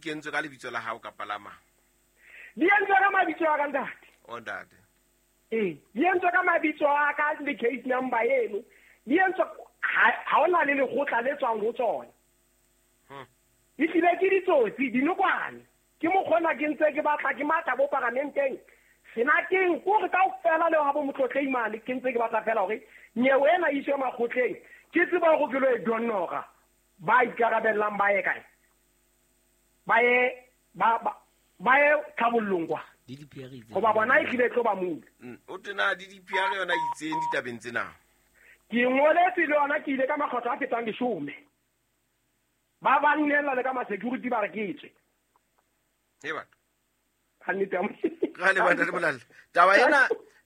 kentswe ka lebitso la hao kapa la mang? Di entswe ka mabitso a ka, ntate. O ntate. Ee, di entswe ka mabitso a ka le case number eno. Di entswe ha hona le lekgotla le tswang ho tsona. E hlile ke ditsotsi, dinokwane. Ke mokgona ke ntse ke batla ke matha bo paramenteng. Senateng kore kaofela le ha bo motlotlei mane ke ntse ke batla fela hore nyewe ena e iswe makgotleng. Ke tseba hore ke lo e donora. Ba ikarabellang ba ye kae? Ba ye ba ye tlhabollong kwa. Hoba bona e hlile e tlo ba mula. O tena DDPR yona itseng ditabeng tsena. Ke ngoletse le yona ke ile ka makgetlo a fetang 10. Ba ba nnella le ka ma security ba re ke tswe. He batho. Ha nnete ya Ra le batho le bolalla.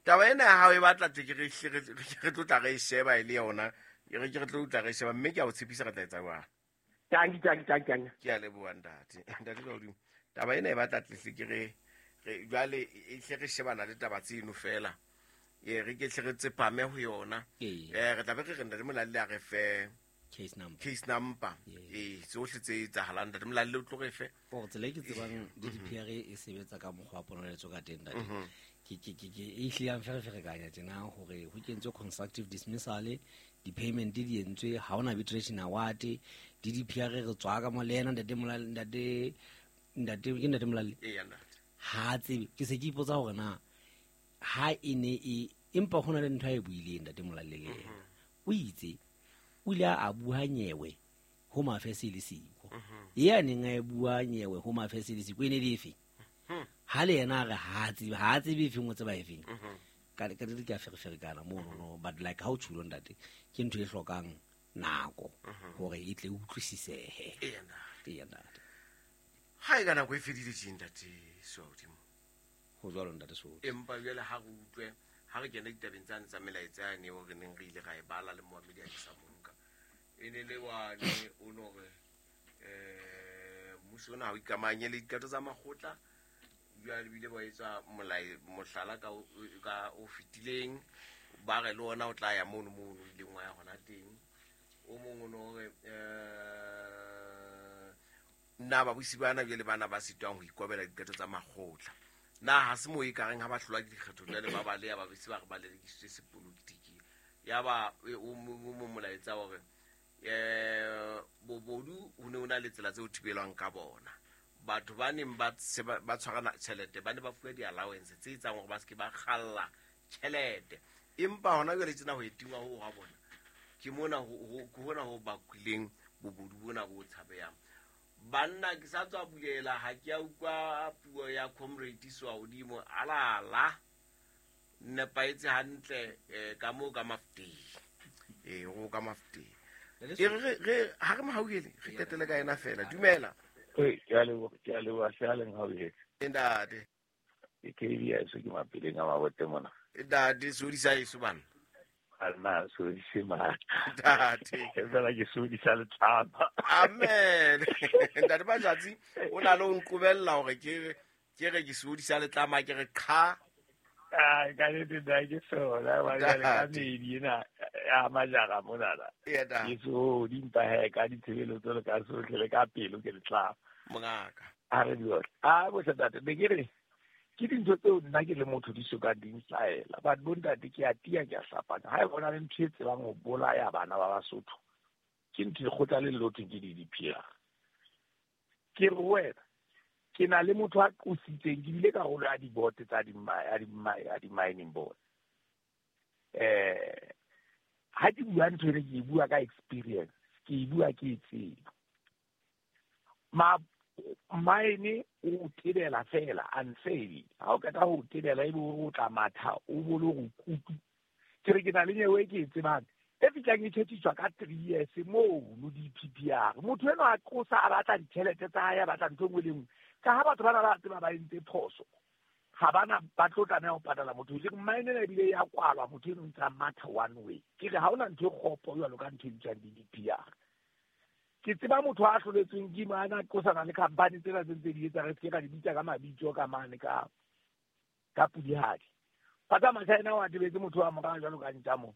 Taba ena ya hao e batla tle ke re re tlo tla re e sheba e le yona. Re ke re tlo tla re sheba mme ke a o tshepisa re tla etsa jwang. Tanki, tanki, tanki, tanki. Ke a leboha ntate. Ntate ka hodimo. Taba ena e batla tle hle ke re jwale e hle re shebana le taba tseno fela. E re ke hle re tsepame ho yona. Re tla be re re ntate Molalle a re fe case number. Case number. Yes. Tsohle tse etsahalang ntate Molalle o tlo re fe. Gore tsela e ke tsebang DDPR e sebetsa ka mokgwa wa ponoletso ka teng ntate. Ke e hlile ya mfereferekanya tjena hore ho kentswe constructive dismissal, di-payment di entswe, ha hona arbitration award, DDPR re tswa ka mo le yena ntate Molalle, ntate, ntate, ke ntate Molalle? Eya, ntate. Ha a tsebe, ke se ke ipotsa hore na ha e ne e, empa ho na le ntho a e buileng ntate Molalle le yena. O itse, o ile a bua nyewe ho Mafese le Siko. E a neng a e bua nyewe ho Mafese le Siko e ne le efe? Ha le yena a re ha a tsebe, ha a tsebe efeng, o tseba efeng. Ka di ka fereferekana mono no, but like ha o tjhulo ntate, ke ntho e hlokang nako hore e tle e utlwisisehe. Eya, ntate. Eya, ntate. Ha e ka nako e fedile tje, ntate Soadimo. Ho jwalo, ntate Soadimo. Empa jwale ha re utlwe, ha re kena ditabeng tsane tsa melaetsa yane eo re neng re ile ra e bala le moamedi a ke sa monka. E ne le wane o no re, mmuso ona ha o ikamahanye le diqeto tsa makgotla. Jwale bile ba etsa mohlala ka o fetileng, ba re le ona o tla ya mono mono o ileng wa ya hona teng. O mong o no re, nna babusi bana jwale bana ba sitwang ho ikobela diqeto tsa makgotla. Na ha se moo e ka reng ha ba hlolwa ke dikgetho jwale ba baleha, ba bese ba re ba lelekisitswe sepolotiki. Ya ba, o mong molaetsa hore, bobodu ho ne ho na le tsela tse ho thibelwang ka bona. Batho ba neng ba se ba tshwarana tjhelete, ba ne ba fuwa di-allowance tse etsang hore ba se ke ba kgalla tjhelete. Empa hona jwale tjena ho e tingwa ho ha bona, ke mona ke hona ho bakileng bobodu bona bo tshabehang. Banna ke sa tswa bulela, ha ke a utlwa puo ya Comrade Soahodimo, alala, nepahetse hantle, ka moo ka Mafuteng. Ho ka Mafuteng. E re, ha re mohauhele, re qetele ka yena fela. Dumela. Oi, ke a leboha, ke a leboha, hle a leng hauhele. Ntate. Ke KB ya eso ke mapeleng a mabote mona. Ntate, sodisa eso bana. A nna sodise matla. Ntate. E fela ke sodisa letlapa. Amen. Ntate Majatsi, o na le ho nqobella hore ke re ke sodisa letlama, ke re qha. Ai, ka nnete nna ke sona, ba jwale ka Ntate. medi ena ya majara monana. Eya, ntate. Ke sodi, empa he, ka ditshebeletso le ka sohle le ka pelo ke letlama. Mongaka. A re diotla. A bohle ntate, ne ke re, ke dintho tseo nna ke le motho di soka di nhlaela. But bo ntate ke a tiya, ke a hlapanya. Ha e bona le ntho e tsebang ho bolaya bana ba Basotho, ke ntho e kgotla le lotho ke DDPR. Ke re ho wena, ke na le motho a qositseng, ke bile karolo ya di-board tsa ya di-mining board. Ha ke bua ntho ena, ke e bua ka experience, ke e bua ke e tseba. Mine o tebela fela unfairly. Ha o qeta ho tebela ebe o tla matha, o bo le hore kutu. Ke re ke na le nyewe e ke e tsebang, e fihlang e tjhetjhiswa ka 3 years mono DPPR. Motho enwa a qosa, a batla ditjhelete tsa hae, a batla ntho e nngwe le e nngwe. Ka ha batho bana ba tseba ba entse phoso, ha bana ba tlo tlameha ho patala motho. Ke re mine ena ebile ya kwalwa, motho eno o ntse a matha one way. Ke re ha hona ntho e kgopo jwalo ka ntho e bitswang DDPR. Ke tseba motho a hloletsweng ke mane a qosana le company tsena tse ntse di etsa, re se ke ra di bitsa ka mabitso ka mane ka Pudihadi. Ba tsamaya China wa tebetse motho wa morao jwalo ka ntja moo.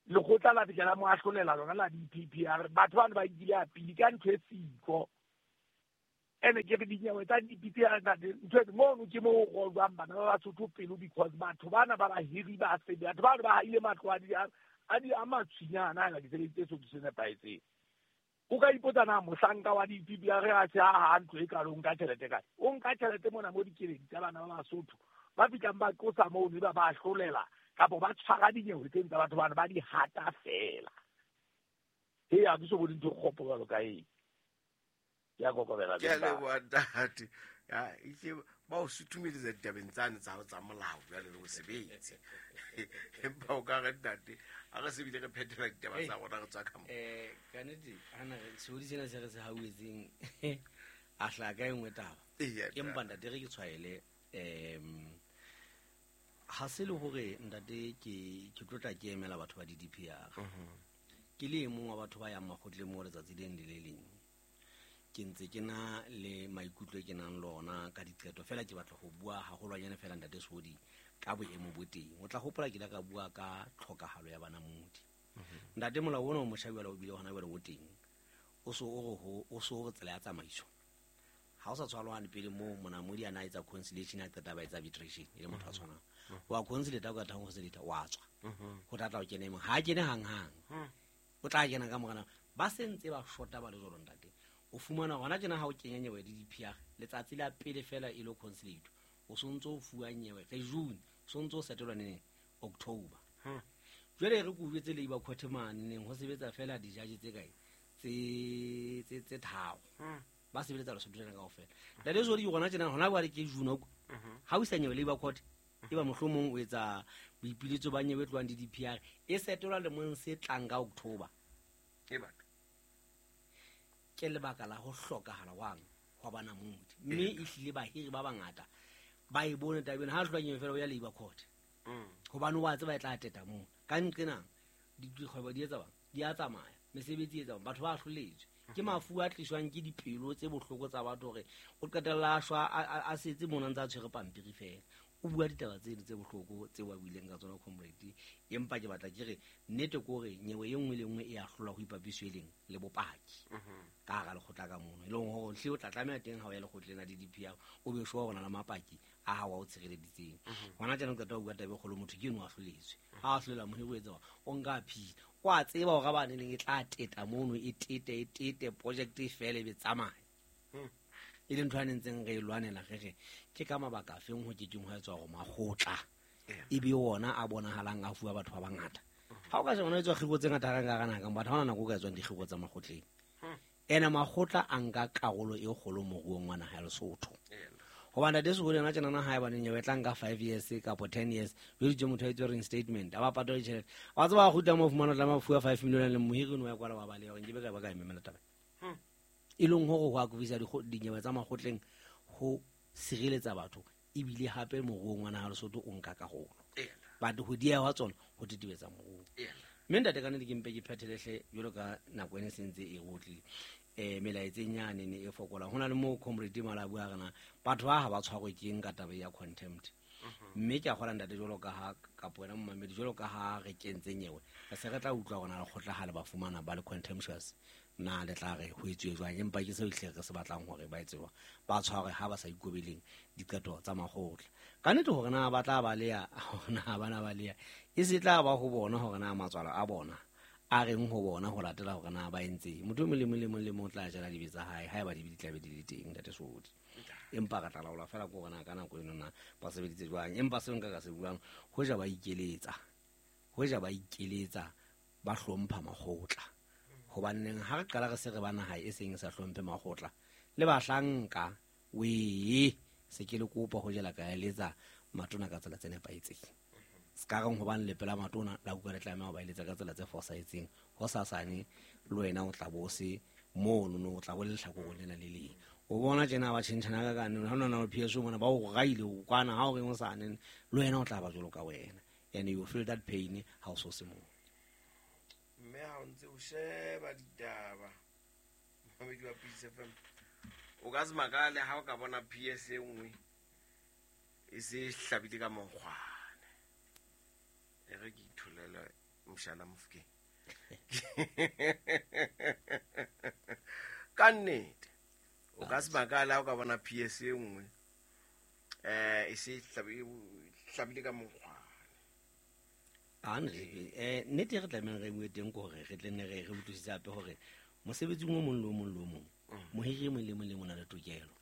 Lekgotla la fihla la mo ahlolela lona la DPPR. Batho bano ba nkile a pili ka ntho e siko. Ene ke re dinyewe tsa dipitse ya ntate ntho e mono ke mo go jwang bana ba Basotho pelo because batho bana ba bahiri ba sebe batho ba ba ile matlo a di a matshwinyana a di sebeditse so se nepahetseng. O ka ipotsa na mohlanka wa di-DPR a re a se a ntlo e kalo o nka tjhelete kae? O nka tjhelete mona mo dikeledi tsa bana ba Basotho ba fihlang ba qosa mono ba ba hlolela kapa ba tshwara dinyewe tseno tsa batho bana ba di hata fela. Ee, ha ke so bone ntho e kgopo jwalo ka eo. Ke a kokobela. Ke a leboha ntate. Ya, ehlile ba o suthumeletsa ditabeng tsane tsa hao tsa molao jwale le mosebetsi. Empa o ka re ntate, ha re se bile re phethela ditaba tsa rona re tswa ka mo. Ka nnete, hana re sehodi sena se re se hauetseng a hlaha ka e nngwe taba. Eya, Empa ntate re ke tshwaele ha se le hore ntate ke tlotla ke emela batho ba di-DPR. Ke le e mong wa batho ba yang makgotleng mo letsatsi le leng le le leng. Ke ntse ke na le maikutlo e ke nang le ona ka diqeto fela ke batla ho bua haholwanyane fela ntate Sehodi ka boemo bo teng. O tla hopola ke ile ka bua ka tlhokahalo ya banamodi. Ntate molao ona o motjha jwale o bile hona jwale o teng. O so o re ho o so o re tsela ya tsamaiso. Ha o sa tshwarwa pele moo monamodi a na etsa conciliation a qeta ba etsa arbitration e le motho a tshwanang. Wa conciliate o ka thang conciliate wa tswa. Ho tla tla o kene mong. Ha kene hang hang. O tla kena ka morana. Ba sentse ba shota ba le jwalo ntate. O fumana hona tjena ha o kenya nyewe di-DPR letsatsi la pele fela e lo conciliate. O sontso o fuwa nyewe re June, sontso o setelwa neng October. Jwale re ko jwetse Labour Court mane neng ho sebetsa fela di-judge tse kae tse tharo. Ba sebeletsa Lesotho lena kaofela. Ntate Sehodi ke hona tjena hona jwale ke June ko. Ha o isa nyewe Labour Court e ba mohlomong o etsa boipiletso ba nyewe e tlohang di-DPR e setelwa lemong se tlang ka October. E batho. Ke lebaka la ho hlokahala wang hwa banamodi. Mme ehlile bahiri ba bangata ba e bone taba ena ha hlwa nyewe fela o ya Labour Court. Hobane wa tseba e tla teta moo. Ka nqena dikgwebo di etsa bang di a tsamaya, mesebetsi e etsa bang, batho ba hloletswe. Ke mafu a tliswang ke dipelo tse bohloko tsa batho hore o qetella a shwa a setse mona ntse a tshwere pampiri fela. O bua ditaba tseno tse bohloko tseo a buileng ka tsona comrade. Empa ke batla ke re nnete ke hore nyewe e nngwe le nngwe e a hlolwa ho ipapiswe leng le bopaki. Ka hara lekgotla ka mono. E leng hore hle o tla tlameha teng ha o ya lekgotleng la di-DPR o be sure hore o na le mapaki a hao a o tshireleditseng. Hona tjena o qeta ho bua taba e kgolo motho ke eno a hloletswe. Ha a hlolela mohiri o etsa o nka appeal. O a tseba hore ba neng e tla teta mono e tete project e fele e be tsamaya. E le ntho a nentseng re e lwanela re re ke ka mabaka afeng ho ke keng ho etswa hore makgotla e be ona a bonahalang a fuwa batho ba bangata. Ha o ka sheba hona etswa kgiro tse ngata ka hara naha, batho ha hona nako o ka etswang dikgiro tsa makgotleng. Ene makgotla a nka karolo e kgolo moruong wa naha ya Lesotho. Hobane ntate Sehodi yena tjena ha eba nyewe tla nka 5 years kapa 10 years jwale motho a etswe reinstatement a ba patale tjhelete. Wa tseba kgutla mo fumana tla fuwa 5 million le mohiri no ya kwala wa baleha hore nkebe ka ba ka emela taba. E leng hore ho akofisa dinyewe tsa makgotleng ho sireletsa batho ebile hape moruong wa naha Lesotho o nka karolo. Batho ho dieha hwa tsona ho tetebetsa moruo. Mme ntate ka nnete ke mpe ke phethele hle jwalo ka nako ena e sentse e rotlile. Melaetseng yane ne e fokolang. Ho na le moo comrade Mala a bua rena batho ba ha ba tshwarwe ke eng ka taba ya contempt. Mme ke a kgola ntate jwalo ka ha kapo wena momamedi jwalo ka ha re kentse nyewe. Re se re tla utlwa hore na lekgotla ha le ba fumana ba le contemptuous na le tla re ho etsuwe jwang, empa ke seo ehlile re se batlang hore ba etse jwang. Ba tshwarwe ha ba sa ikobeleng diqeto tsa makgotla. Ka nnete hore na ba tla baleha hore na ba na baleha e se tla ba ho bona hore na matswalo a bona a reng ho bona ho latela hore na ba entse. Motho e mong le mong le mong le mong o tla jala dibe tsa hae haeba dibe di tla be di le teng ntate Sehodi. Empa re tla laola fela ke hore na ka nako eno na ba sebeditse jwang. Empa seo nka ka se buang hoja ba ikeletsa, hoja ba ikeletsa ba hlompha makgotla. Hobaneng ha re qala re se re ba naha e seng e sa hlomphe makgotla le bahlanka wee se ke le kopa ho jela ka eletsa matona ka tsela tse nepahetseng. Se ka reng hobane le pela matona la utlwa le tlameha ho ba eletsa ka tsela tse fosahetseng. Hosasane le wena o tla bo se mono no o tla bo le lehlakoreng lena le leng. O bona tjena ba tjhentjhana ka kane ha nona o PSO mona ba o raile o kwana ha o reng hosane le wena o tla ba jwalo ka wena. And you feel that pain ha o so se moo. Mme ha o ntse o sheba ditaba mamedi wa Peace FM o ka se makale ha o ka bona PS e nngwe e se hlabile ka monkgwane. E re ke itholele mshana Mofokeng. Ka nnete O ka se makale ha o ka bona PS e nngwe e se hlabile ka mokgwa. Nnete re tlamehang re bue teng ke hore re tle ne re utlwisise hape hore mosebetsing o mong le o mong le o mong, mohiri e mong le mong le mong o na le tokelo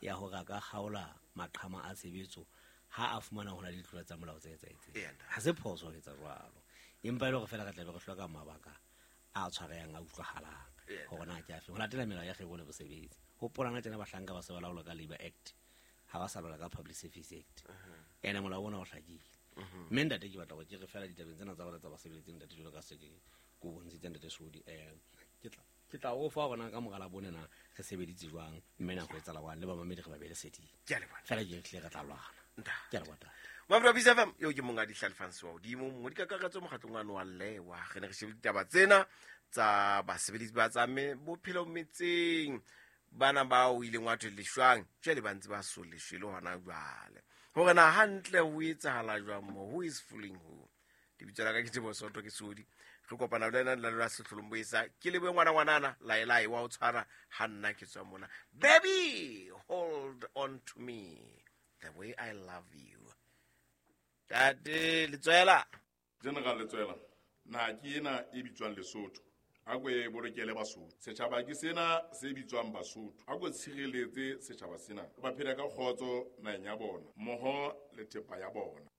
ya hore a ka kgaola maqhama a tshebetso ha a fumana ho na le ditlolo tsa molao tse etsahetseng. Ha se phoso ho etsa jwalo, empa e le hore feela re tlabe re hloka mabaka a tshwarehang a utlwahalang hore na ke afe ho latela melao ya kgwebo le bosebetsi. Hopolana tjena bahlanka ba se ba laolwa ka Labour Act, ha ba sa laola ka Public Service Act. Ene molao ona o hlakile. Mme ntate ke batla hore ke re feela ditabeng tsena tsa bona tsa basebeletsing ntate jwalo ka se ke ko bontshitse ntate Sodi, ke tla o fa hore na ka mora Labone na re sebeditse jwang, mme nako e tsala jwang, le bamamedi re ba beele seding. Ke a leboha. Feela ke tlile re tla lwana. Ntate. Ke a leboha ntate. Mafura Peace FM, eo ke monga Dihlalefang Sewa hodimo, mongodi kakaretso mokgatlong wa wa Lewa. Re ne re shebile ditaba tsena tsa basebeletsi ba tsa bophelo metseng, bana bao o ileng wa thwe leshwang, jwale ba ntse ba so leshwe le hona jwale. Hore na hantle ho etsahala jwang mo, who is fooling who? Lebitso la ka ke Teboho Soto, ke Sodi. Re kopana le wena le la sehlolong boesa. Ke lebohe ngwana ngwanana, laelae wa o tshwara ha nna ke tswa mona. Baby, hold on to me the way I love you. Tate Letswela. General Letswela, naha ke ena e bitswang Lesotho. A ko e bolokele Basotho. Setjhaba ke sena se bitswang Basotho. A ko tshireletse setjhaba sena. Ba phela ka kgotso naheng ya bona, mmoho le thepa ya bona.